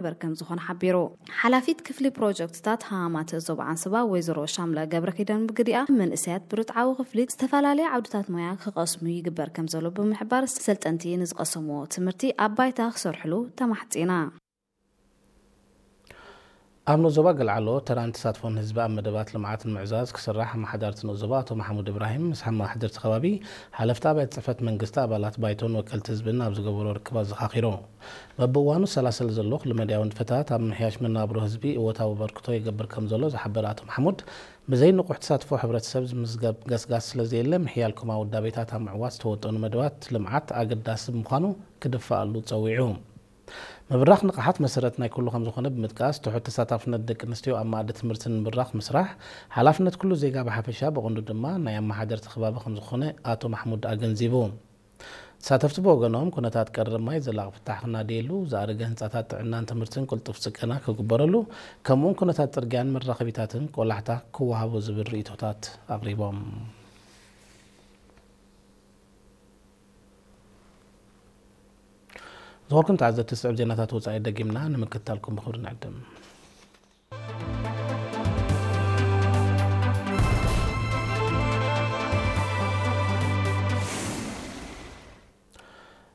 ይግበር ከም ዝኾነ ሓቢሩ። ሓላፊት ክፍሊ ፕሮጀክትታት ሃማማት ዞባ ዓንስባ ወይዘሮ ሻምላ ገብረ ኪዳን ብግዲኣ፣ መንእሰያት ብርትዓዊ ክፍሊት ዝተፈላለየ ዓውድታት ሞያ ክቐስሙ ይግበር ከም ዘሎ ብምሕባር፣ ሰልጠንቲ ንዝቐሰምዎ ትምህርቲ ኣብ ባይታ ክሰርሕሉ ተማሕጺና። ኣብ ንኡስ ዞባ ገልዓሎ ተራን ተሳትፎን ህዝቢ ኣብ መደባት ልምዓት ንምዕዛዝ ክስራሕ ኣመሓዳርቲ ንኡስ ዞባ ኣቶ ማሕሙድ እብራሂም ምስ ኣመሓደርቲ ከባቢ፣ ሓለፍቲ ኣብያተ ጽሕፈት መንግስቲ፣ ኣባላት ባይቶን ወከልቲ ህዝብን ኣብ ዝገበሮ ርክብ ኣዘኻኺሩ። በብእዋኑ ዝሰላሰል ዘሎ ኩለመዳያዊ ንጥፈታት ኣብ ምምሕያሽ መነባብሮ ህዝቢ እወታዊ ኣበርክቶ ይገብር ከም ዘሎ ዝሓበረ ኣቶ ማሕሙድ፣ ብዘይ ንቑሕ ተሳትፎ ሕብረተሰብ ዝምዝገብ ገስጋስ ስለ ዘየለ፣ ምሕያል ኮማዊ ውዳቤታት ኣብ ምዕዋት ዝተወጠኑ መደባት ልምዓት ኣገዳሲ ብምዃኑ ክድፋኣሉ ጸዊዑ። ምብራኽ ንቕሓት መሰረት ናይ ኩሉ ከም ዝኾነ ብምጥቃስ፣ ትሑት ተሳታፍነት ደቂ ኣንስትዮ ኣብ መኣዲ ትምህርቲ ንምብራኽ ምስራሕ ሓላፍነት ኩሉ ዜጋ ብሓፈሻ፣ ብቐንዱ ድማ ናይ ኣመሓደርቲ ከባቢ ከም ዝኾነ ኣቶ ማሕሙድ ኣገንዚቡ። ተሳተፍቲ ብወገኖም፣ ኩነታት ቀረብ ማይ ዘላቒ ፍታሕ ክናደየሉ፣ ዝኣረገ ህንጻታት ጥዕናን ትምህርትን ቅልጡፍ ጽገና ክግበረሉ፣ ከምኡውን ኩነታት ጽርግያን መራኸቢታትን ቆላሕታ ክወሃቦ ዝብል ርእይቶታት ኣቕሪቦም። ዝኸበርኩም ተዓዘብቲ፣ ዝስዕብ ዜናታት ወጻኢ ደጊምና ንምክትታልኩም ብኽብሪ ንዕድም።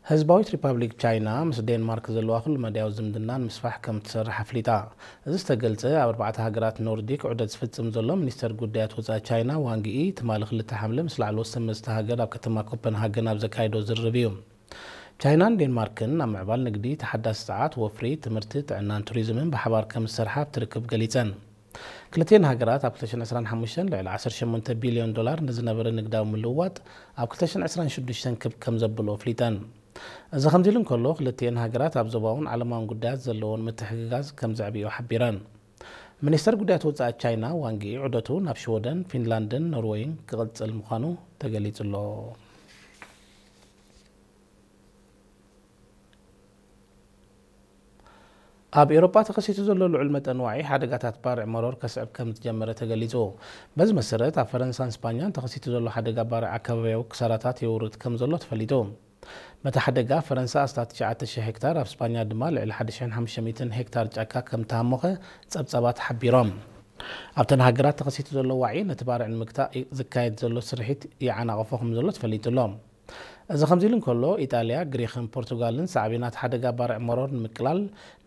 ህዝባዊት ሪፓብሊክ ቻይና ምስ ዴንማርክ ዘለዋ ኩለመዳያዊ ዝምድና ንምስፋሕ ከም ትሰርሕ ኣፍሊጣ። እዚ ዝተገልጸ፣ ኣብ ኣርባዕተ ሃገራት ኖርዲክ ዑደት ዝፍጽም ዘሎ ሚኒስተር ጉዳያት ወጻኢ ቻይና ዋንግ ዪ፣ ትማሊ ክልተ ሓምለ ምስ ላዕለዎት ሰበ መዚ እታ ሃገር ኣብ ከተማ ኮፐንሃገን ኣብ ዘካየዶ ዝርርብ እዩ። ቻይናን ዴንማርክን ኣብ ምዕባል ንግዲ፣ ተሓዳሲ ጸዓት፣ ወፍሪ፣ ትምህርቲ፣ ጥዕናን ቱሪዝምን ብሓባር ከም ዝሰርሓ ኣብቲ ርክብ ገሊጸን። ክልቲኤን ሃገራት ኣብ ክልተ ሽሕን ዕስራን ሓሙሽተን ልዕሊ ዓሰርተ ሸሞንተ ቢልዮን ዶላር ንዝነበረ ንግዳዊ ምልውዋጥ፣ ኣብ ክልተ ሽሕን ዕስራን ሽዱሽተን ክብ ከም ዘብልኦ ኣፍሊጠን። እዚ ከምዚ ኢሉ እንከሎ፣ ክልቲኤን ሃገራት ኣብ ዞባውን ዓለማውን ጉዳያት ዘለዎን ምትሕግጋዝ ከም ዘዕብዮ ሓቢረን። ሚኒስተር ጉዳያት ወጻኢ ቻይና ዋንግ ዪ ዑደቱ ናብ ሽወደን፣ ፊንላንድን ኖርወይን ክቕጽል ምዃኑ ተገሊጹ ኣሎ። ኣብ ኤውሮጳ ተኸሲቱ ዘሎ ልዑል መጠን ዋዒ ሓደጋታት ባርዕ መሮር ከስዕብ ከም ዝጀመረ ተገሊጹ። በዚ መሰረት፣ ኣብ ፈረንሳን ስፓኛን ተኸሲቱ ዘሎ ሓደጋ ባርዕ ኣከባቢያዊ ክሳራታት የውርድ ከም ዘሎ ተፈሊጡ። በቲ ሓደጋ፣ ፈረንሳ ኣስታት ትሽዓተ ሽሕ ሄክታር፣ ኣብ ስፓኛ ድማ ልዕሊ ሓደ ሽሕን ሓሙሽተ ሚእትን ሄክታር ጫካ ከም ተሃሞኸ ጸብጻባት ሓቢሮም። ኣብተን ሃገራት ተኸሲቱ ዘሎ ዋዒ፣ ነቲ ባርዕ ንምግታእ ዝካየድ ዘሎ ስርሒት ይዓናቕፎ ከም ዘሎ ተፈሊጡ ኣሎ። እዚ ከምዚ ኢሉ እንከሎ፣ ኢጣልያ፣ ግሪኽን ፖርቱጋልን ሳዕቤናት ሓደጋ ባርዕ መሮር ንምቅላል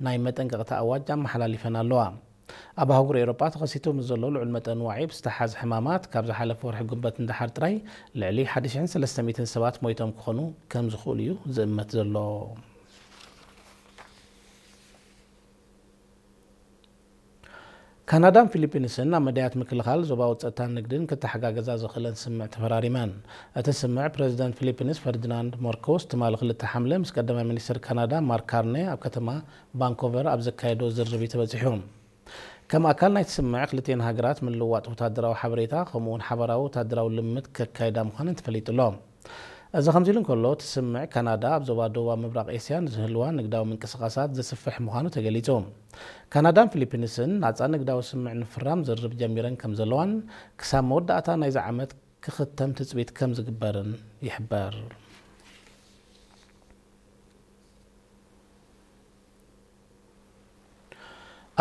ናይ መጠንቀቕታ ኣዋጅ ኣመሓላሊፈን ኣለዋ። ኣብ ኣህጉር ኤውሮጳ ተኸሲቱ ምስ ዘሎ ልዑል መጠን ዋዒ ብዝተሓዝ ሕማማት፣ ካብ ዝሓለፈ ወርሒ ጉንበት ንደሓር ጥራይ ልዕሊ ሓደ ሽሕን ሰለስተ ሚእትን ሰባት ሞይቶም ክኾኑ ከም ዝኽእሉ እዩ ዝእመት ዘሎ። ካናዳን ፊሊፒንስን ኣብ መዳያት ምክልኻል ዞባዊ ጸጥታን ንግድን ክተሓጋገዛ ዝኽእለን ስምምዕ ተፈራሪመን። እቲ ስምምዕ፣ ፕረዚደንት ፊሊፒንስ ፈርዲናንድ ማርኮስ ትማሊ ክልተ ሓምለ ምስ ቀዳማይ ሚኒስትር ካናዳ ማርክ ካርኔ ኣብ ከተማ ቫንኮቨር ኣብ ዘካየዶ ዝርርብ እዩ ተበጺሑ። ከም ኣካል ናይቲ ስምምዕ፣ ክልቲኤን ሃገራት ምልውዋጥ ወታደራዊ ሓበሬታ፣ ከምኡ'ውን ሓባራዊ ወታደራዊ ልምምድ ከካይዳ ምዃነን ተፈሊጡ ኣሎ። እዚ ከምዚ ኢሉ እንከሎ፣ እቲ ስምምዕ፣ ካናዳ ኣብ ዞባ ደቡባዊ ምብራቕ ኤስያ ንዝህልዋ ንግዳዊ ምንቅስቓሳት ዘስፍሕ ምዃኑ ተገሊጹ። ካናዳን ፊሊፒንስን ናጻ ንግዳዊ ስምምዕ ንምፍራም ዝርርብ ጀሚረን ከም ዘለዋን፣ ክሳብ መወዳእታ ናይዚ ዓመት ክኽተም ትጽቢት ከም ዝግበርን ይሕበር።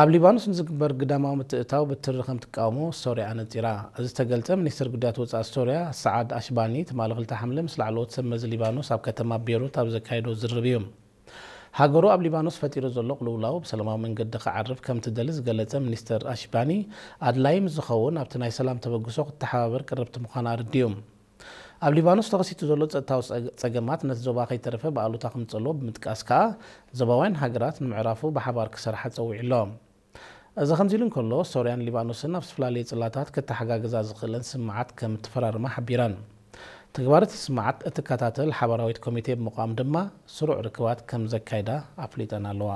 ኣብ ሊባኖስ ንዝግበር ግዳማዊ ምትእትታው ብትሪ ከም ትቃወሞ ሶርያ ኣነጺራ። እዚ ዝተገልጸ፣ ሚኒስትር ጉዳያት ወጻኢ ሶርያ ሰዓድ ኣሽባኒ ትማሊ ክልተ ሓምለ ምስ ላዕለዎት ሰብ መዚ ሊባኖስ ኣብ ከተማ ቤይሩት ኣብ ዘካየዶ ዝርርብ እዩ። ሃገሩ ኣብ ሊባኖስ ፈጢሩ ዘሎ ቅልውላው ብሰላማዊ መንገዲ ክዓርፍ ከም ትደሊ ዝገለጸ ሚኒስትር ኣሽባኒ፣ ኣድላዪ ምስ ዝኸውን ኣብቲ ናይ ሰላም ተበግሶ ክትተሓባበር ቅርብቲ ምዃና ኣረዲኡ። ኣብ ሊባኖስ ተኸሲቱ ዘሎ ጸጥታዊ ጸገ-፣ ጸገማት ነቲ ዞባ ከይተረፈ ብኣሉታ ከምጸልዎ ብምጥቃስ ከኣ፣ ዞባውያን ሃገራት ንምዕራፉ ብሓባር ክሰርሓ ጸዊዑ ኣሎ። እዚ ከምዚ ኢሉ እንከሎ፣ ሶርያን ሊባኖስን ኣብ ዝተፈላለየ ጽላታት ክተሓጋገዛ ዝኽእለን ስምምዓት ከም እተፈራረማ ሓቢረን። ተግባር እቲ ስምምዓት እትከታተል ሓባራዊት ኮሚቴ ብምቋም ድማ ስሩዕ ርክባት ከም ዘካይዳ ኣፍሊጠን ኣለዋ።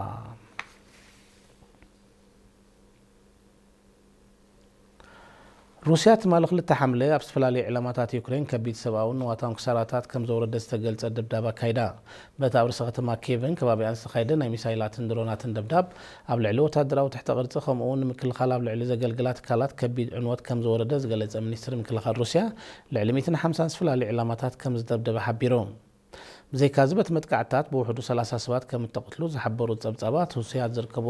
ሩስያ ትማሊ ክልተ ሓምለ ኣብ ዝተፈላለዩ ዕላማታት ዩክሬን ከቢድ ሰብኣውን ንዋታውን ክሳራታት ከም ዘውረደ ዝተገልጸ ደብዳብ ኣካይዳ። በቲ ኣብ ርእሰ ከተማ ኪየቭን ከባቢኣን ዝተኻየደ ናይ ሚሳይላትን ድሮናትን ደብዳብ፣ ኣብ ልዕሊ ወታደራዊ ትሕተ ቅርጺ ከምኡ እውን ንምክልኻል ኣብ ልዕሊ ዘገልግላ ትካላት ከቢድ ዕንወት ከም ዘወረደ ዝገለጸ ሚኒስትሪ ምክልኻል ሩስያ፣ ልዕሊ ሚእትን ሓምሳን ዝተፈላለዩ ዕላማታት ከም ዝደብደበ ሓቢሩ። ብዘይካዚ፣ በቲ መጥቃዕትታት ብውሕዱ ሰላሳ ሰባት ከም እተቐትሉ ዝሓበሩ ጸብጻባት፣ ሩስያ ዝርከብዎም